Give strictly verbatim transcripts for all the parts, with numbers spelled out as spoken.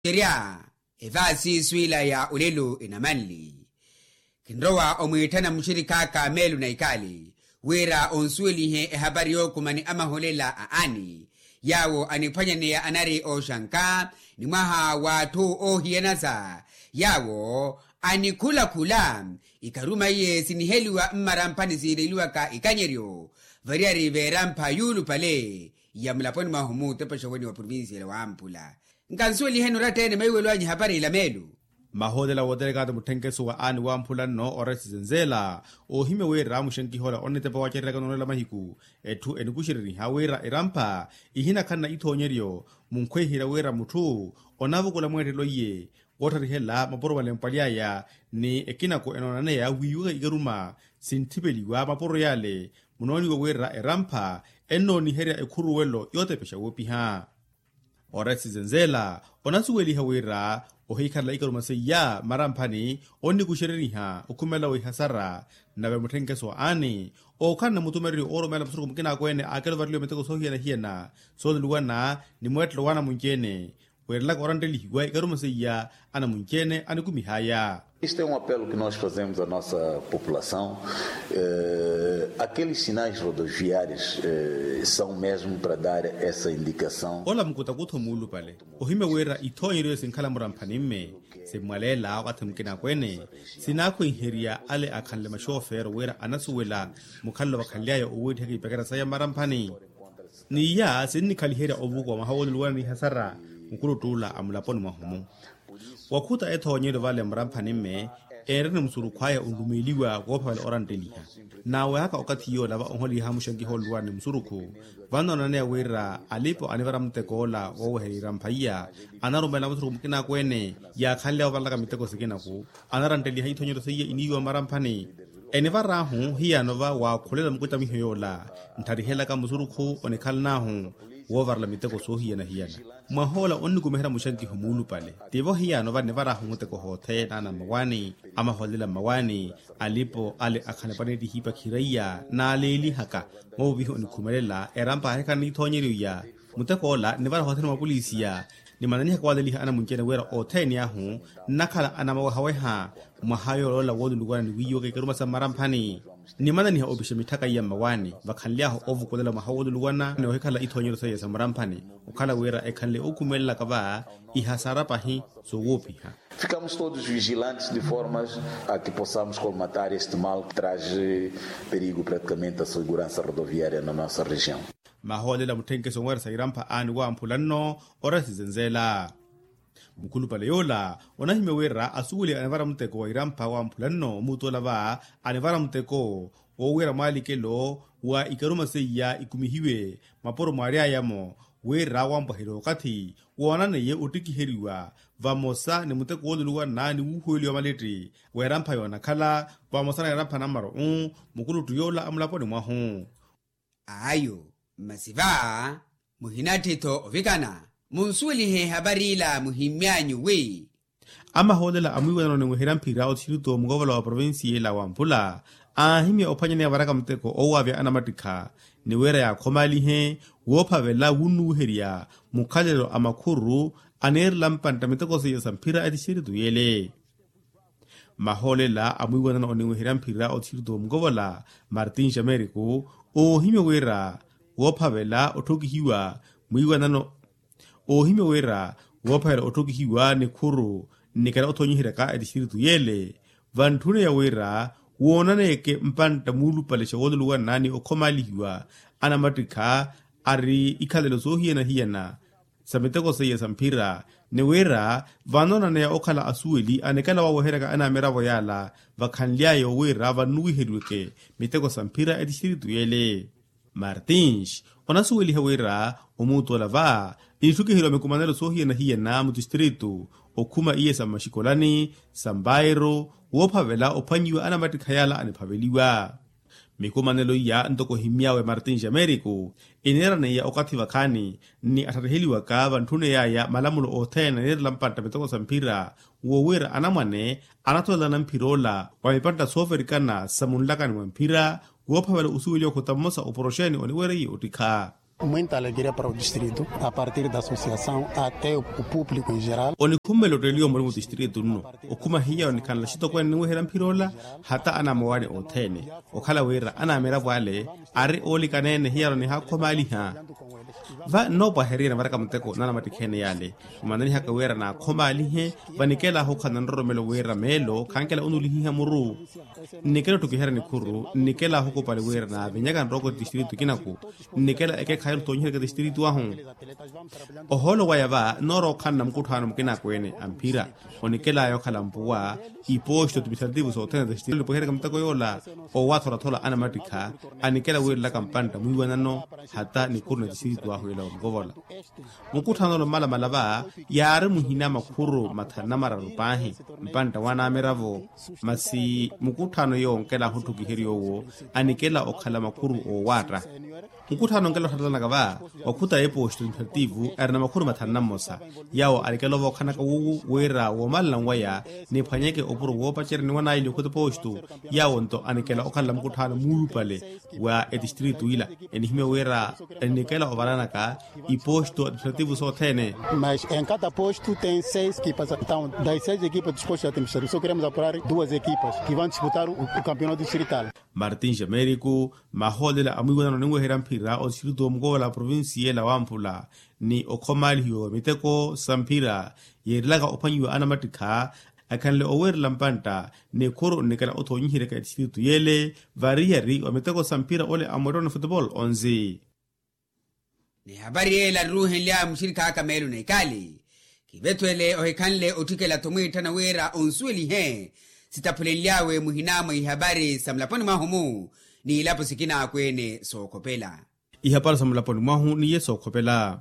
Tixerya evaasi swiila ya olelo enamanli. Kinrowa omwiitthana muxirikhaaka meelo na ikaali wira onsuwelihe ehapari yookumani amaholela a ani yaawo aniphwanyaneya anari ooxanka ni mwaha w'atthu oohiyanasa yaawo anikhulakhula ikharuma iye siniheliwa mmaramphani siireliwaka ikanyeryo variyari veerampha yuulupale ya mulaponi mwahu muutepexa weni wa provincia ya wampula. Nkansuweliheni oratta-ene maiwelo anyu ehapari ila meelu. Mahoolelo a wooterekaato mutthenkeso wa aani wamphula nno oresi zenzela oohimya wira muxenkiha ola onitepa wacereraka noolela mahiku etthu enikuxereriha wira erampha ihinakhanna ithoonyeryo munkhwehiherya wira mutthu onavukula mweettelo iye wootharihela mapuro malempwaly'aya ni ekinako enoonaneya wiiwaka ikaruma sintthipeliwa mapuro yale munooniwa wira erampha ennooniherya ekhuruwelo yootepexa woopiha. Oresi zenzela onasuweliha wira ohiikhalela ikaruma seiya mmaramphani onnikuxereriha okhumela wihasara nave mutthenkeso wa aani ookhala na mutumereryo oorumela musurukhu mukinaakweene aakelo vareliwa miteko soohiyana-hiyana sooluluwana ni mweettelo w'anamunci-ene weerelaka oranttelihiwa ikaruma seiya anamunci-ene anikumihaya. Isto é um apelo que nós fazemos à nossa população. Aqueles sinais rodoviários são mesmo para dar essa indicação. Ola mukutakutho muulupale ohimya wira ithoonyeryo sinkhala muramphani mme simmwaleela wakathi mukinaakweene sinaakhwenherya ale akhanle maxoofeero wira anasuwela mukhalelo vakhanly'aya oweettihaka ipekera saya mmaramphani. N'iya sinnikhaliherya ovukuwa mwaha wooluluwana n'ihasara mukuluttuula a mulaponi mwahu-mu. Wakhuta ethoonyeryo vale mmaramphani mme eereni musurukhu aya onlumeeliwa woophavela orantteliha naawehaka okathi yoola va onholiha muxenkiha ooluluwana ni musurukhu vannoonaneya wira alipo anivara muteko ola wooweherya irampha iya anarumelela musurukhu mukinaakweene yaakhanly'awe ovalaka miteko sikinaku anarantteliha ithoonyeryo seiya iniiwa mmaramphani enivar'ahu hiyano va waakhulela mukuttamiho yoola ntharihelaka musurukhu onikhalan'ahu woovarela miteko soohiyana-hiyana. Mwahoola onnikumiherya muxankiho muulupale tivo hiyano va nivar'ahu muteko hothene ana mmawaani amaholela mmawaani alipo ale akhanepwa neettihipa khiraiya naaleelihaka moovihi onikhumelela erampa aahikhala n'ithoonyeryo iya mutekoola nivara hothene mwapolisiya nimananihaka waleliha anamunci-ene wira othene ahu nnakhala anamawehaweha mwaha yooloola wooluluwana ni wiiwaka ikaruma sa mmaramphani nimananiha opixa mitthaka iya mmawaani vakhanly'ahu ovukulela mwaha wooluluwana ni ohikhala ithoonyeryo seiya sa mmaramphani okhala wira ekhanle ookhumelelaka va ihasara pahi soowoopiha. Ficamos todos vigilantes de formas a que possamos colmatar este mal que traz perigo praticamente a segurança rodoviária na nossa região. Mahoolela mutthenkeso omweeresa irampha aani wamphula nno oresi zenzela. Mukhulupale yoola onahimya wira asuweliwa anivara muteko wa irampha wamphula nno omuutola va anivara muteko woowira mwaalikelo wa ikaruma seiya ikumihiwe mapuro mwaary'aya-mo wira wampwaherya okathi woonaneiye ottikiheriwa vamosa ni muteko wooluluwana ni wuuhuweliwa maletti w'erampha yoonakhala vamosa na erampha nammaro-u mukuluttu yoola a mulaponi mwahu. Ayo masi va muhinatthi-tho ovikana munsuwelihe ehapari ila muhimmy'anyu wi. Amahoolela a mwiiwanano ni mwiherya mphira otixirito mukovola wa provincia ila wamphula aahimya ophwanyaneya varaka muteko owaavya anamattikha ni wira yaakhomalihe woophavela wunnuwiherya mukhalelo a makhuru aneerela mpantta miteko seiya sa mphira etixirito yele. Mahoolela a mwiiwanano oniweherya mphira otixirito mukovola martin xameriku oohimya wira woophavela otthokihiwa mwiiwanano oohimya wira woophavela otthokihiwa nikhuru nnikela othoonyiheryaka etixirito yele vantthune ya wira woonaneyeke mpantta muulupale xa wooluluwana ni okhomalihiwa anamattikha ari ikhalelo soohiyana-hiyana sa miteko seiya sa mphira ni wira vanoonaneya okhala asuweli anikala waweheryaka anamiravo yaala vakhanly'aya wira vannuwiheriweke miteko sa mphira etixirito yele. Martins onasuweliha wira omuutola va initthukiheryiwa mikumanelo soohiyana-hiyana mutistiritu okhuma iye sa mmaxikolani sa mbairo woophavela ophwannyiwa anamattikha yaala aniphaveliwa. Mikumanelo iya ntoko ohimmy'awe martin xameriku iniiraneiya okathi vakhaani ni atthariheliwaka vantthune yaya malamulo othene aneerela mpantta miteko sa mphira wo wira anamwane anatolelana mphira ola wa mipantta sooverikana sa munlakani mwa mphira woophavela osuweliwa okhota mmosa oporoxeni oniwereiye ottikha. Muinta alegria para o distrito a partir da associação até o público em geral. Onikhummela otteliwa omurimu distrito nno okhuma hiya onikhanla xitokweene ninweherya mphira ola hata anamowani othene okhala wira anamiravo ale ari oolikaneene hiyano nihaakhomaaliha. Va nnoopwaherya nivaraka muteko nanamatikheene yale. Mmananihaka wira naakhomaalihe. Vanikela ahukhala na nroromelo wira meelo khankela onulihiha muru. Nnikela otthukiherya nikhuru nnikela ahukupali wira naavinyaka nrooko distrito kinaku. Nnikela ekekhayi otthoonyiherya distrito ahu. Ohoolo waya va noorookhanna mukutthaano mukinaakweene a mphira. Onikelaya okhala mpuwa iposto administrativo sothene za xitili nipohereka muteko yoola. Owaatholathola anamattikha anikela wiirelaka mpantta mwiiwanano hata nikhuru na distrito ahu ela omukovola. Mukutthaano olo mmalamala va yaari muhina makhuru mathanu na mararu paahi. Mpantta wanamiravo masi mukutthaano yoonkela ahutthukiherya owo anikela okhala makhuru oowaatta. Mukutthaano onkela otthatthanaka va wakhuta eposto administrativo ari na makhuru mathanu na mmosa. Yawo alikela ovookhanaka wuwu wira woomalana nwaya niphwanyeke opuro woopacerya ni wanaili okhuta eposto. Yawo nto anikela okhalela mukutthaano muulupale wa etistrito ila enihimya wira enikela ovalanaka iposto administrativo sothene. Mas em cada posto tem seis equipas, então das seis equipas dos postos administrativos só queremos apurar duas equipas que vão disputar o campeonato distrital. Martins americo. Mahoolela a mwiiwanano ninweherya mphira otistrito omukovola provincia ela wamphula ni okhomaalihiwa wa miteko sa mphira yeerilaka ophwanyiwa anamattikha akhanle oweerela mpantta. Nikhuru nnikela othoonyiheryaka etistrito yele variyari wa miteko sa mphira ole amwettoni futebol onzi. Ni hapari yeela aruuhenly'awe muxirikhaaka meelo na ikaali kivethwele ohikhanle otthikela-tho mwiitthana wira onsuwelihe. Sitaphulenly'awe muhina mwa ihapari sa mulaponi mwahu-mu n'ilapo sikin'akweene sookhopela. Ihapari sa mulaponi mwahu n'iye sookhopela.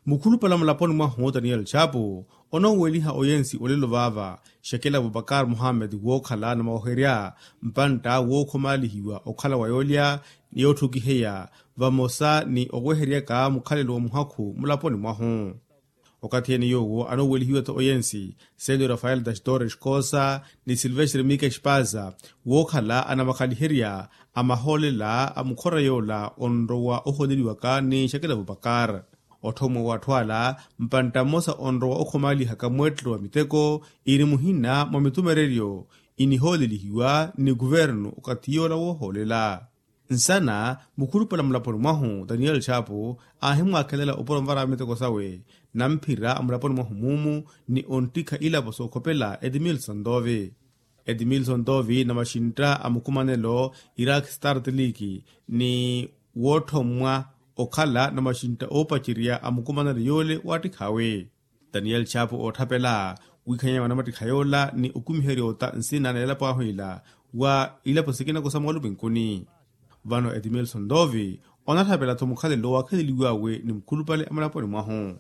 Mukhulupale a mulaponi mwahu daniel chapu onoweliha oyensi olelo vaava shakila abubakar muhammed wookhala na mawoherya mpantta wookhomaalihiwa okhala wa yoolya ni yootthukiheya vamosa ni oweheryaka mukhalelo wa muhakhu mulaponi mwahu. Okathi ene yoowo anowelihiwa-tho oyensi selo rafael dastor escosa ni silvestre mika espaza wookhala anamakhaliherya a mahoolela a mukhora yoola onrowa ohooleliwaka ni shakila abubakar. Otthomwa w'atthu ala mpantta mmosa onrowa okhomaalihaka mweettelo wa miteko iri muhina mwa mitumereryo inihoolelihiwa ni kuvernu okathi yoola woohoolela. Nsana mukhulupale a mulaponi mwahu daniel chapu aahimwaakhelela opuro nvara miteko sawe na mphira a mulaponi mwahu muumu ni onttikha ilapo sookhopela edmilson dove. Edmilson dove na maxintta a mukumanelo irak start league ni wootthomwa okhala na maxintta oopacerya a mukumanelo yoole waattikhawe. Daniel chapu ootthapela wiikhanyanya wa namattikha yoola ni okumiherya ota nsina na elapo ahu ila wa ilapo sikina kosa mwalupinkuni. Vano edmilson dove onatthapela-tho mukhalelo waakheleliwawe ni mukhulupale a mulaponi mwahu.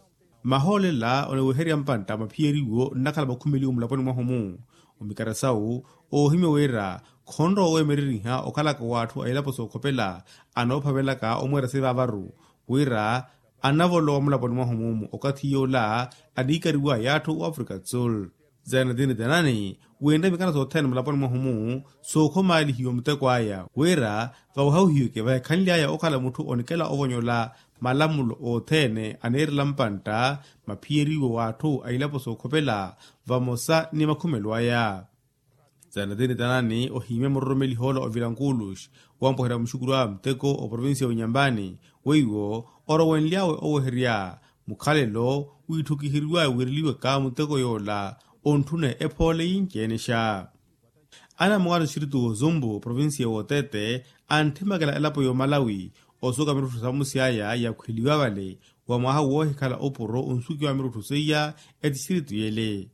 Mahoolela oniweherya mpantta maphiyeriwo nnakhala makhumeliwo mulaponi mwahu-mu. Omikara sawu oohimya wira khonrowa weemereriha okhalaka w'atthu a ilapo sookhopela anoophavelaka omweera sivaavaru wira anavolowa mulaponi mwahu-mu okathi yoola aniikariwaya atthu w'afrika do sul. Zainadini danani winre mikana sothene mulaponi mwahu-mu sookhomaalihiwa muteko aya wira vawahawihiweke vahikhanly'aya okhala mutthu onikela ovonyola malamulo othene aneerela mpantta maphiyeriwo w'atthu a ilapo sookhopela vamosa ni makhumelo aya. Zainadini danani ohiimya muroromeliha ola ovilankulus wampweherya muxukuru awe muteko oprovincia ya unyambani weiwo orowenly'awe oweherya mukhalelo wiitthukiheriw'awe wiireliwaka muteko yoola ontthune ephoole yinci-enexa. Anamowaari oxiritu w'ozumbu provincia w'otete antthimekela elapo y'omalawi osuka mirutthu samusi aya yakhweliwa vale wa mwaha woohikhala opuro onsukiwa mirutthu seiya etixiritu yele.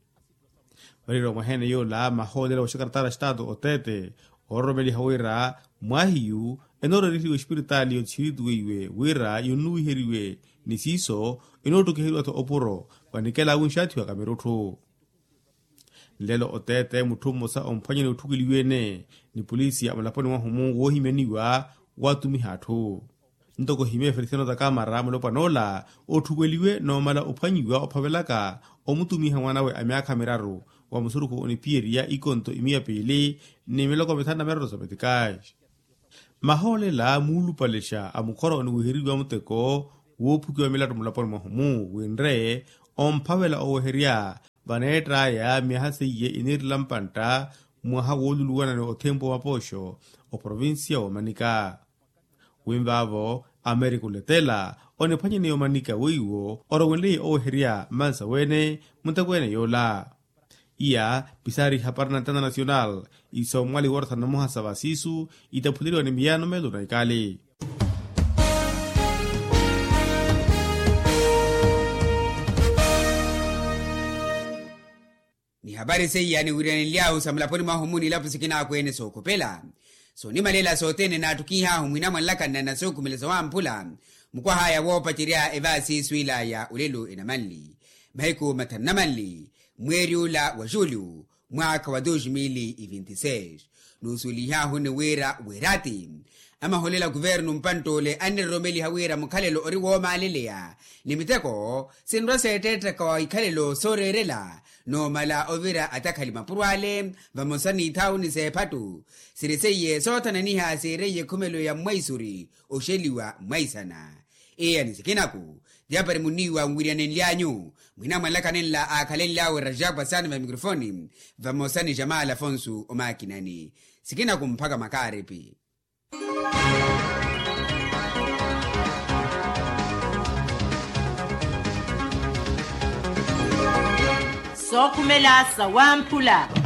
Variira omwahene yoola mahoolela wa xakarataara xitaatu otete oororomeliha wira mwahiyu enooreriheriwa espiritaali y'otixiritu weiwe wira yonnuwiheriwe ni siiso enoottukiheriwa-tho opuro vanikela awinxaathiwaka mirutthu. Nlelo otete mutthu mmosa omphwanyani otthukeliwe-ene ni polisi a mulaponi mwahu-mu woohimyaniwa waatumiha atthu. Ntoko ohimye feliciano takamara mulopwana ola otthukweliwe noomala ophwanyiwa ophavelaka omutumiha mwan'awe a myaakha miraru wa musurukhu onipiyeriya ikonto imiya piili ni miloko mithanu na miraru sa metikaxi. Mahoolela muulupalexa a mukhora oniwiheriwa muteko woophukiwa milatto mulaponi mwahu-mu winre omphavela oweherya vaneett'aya myaha seiye iniirela mpantta mwaha wooluluwana ni othempu wa mapooxo oprovincia woomanika. Winvaavo amerika oletela oniphwanyaniya omanika weiwo orowenleiye oweherya mmansa wene mutekweene yoola. Iya pisaari ihapari na ntana nasional isoomwali woorotha namoha sa vasiisu itaphuleriwa ni miyaano meelo na ikali. Ni hapari seiya niwiriyanenly'ahu sa mulaponi mwahu-mu ni ilapo sikinakweene sookhopela soonimalela sothene naattukihahu mwinamwanlaka nnanasukumela sawamphula mukwah'aya woopacerya evaasiisu ilaya olelo enamanli mahiku mathanu namanli mweeri ula wa julho mwaakha wa dos mil e vinti seis. Nuusuwelihahuni wira weerati amaholela kuvernu mpantt'ole anniroromeliha wira mukhalelo ori woomaaleleya ni miteko sinrwa seetteettaka wa ikhalelo sooreerela noomala ovira atakhali mapuro ale vamosa n'ithaawuni s'ephattu siri seiye soothananiha siireiye ekhumelo ya mmwaisuri oxeliwa mmwaisana. Eya ni sikinaku ti apari munniiwa nwiriyanenly'anyu mwinamwanlaka nenla aakhalenly'awe rajapwa saana va mikrofoni vamosa ni jamal afonso omaakinani sikinaku mphaka makaaripi. Sookhumela sawamphula.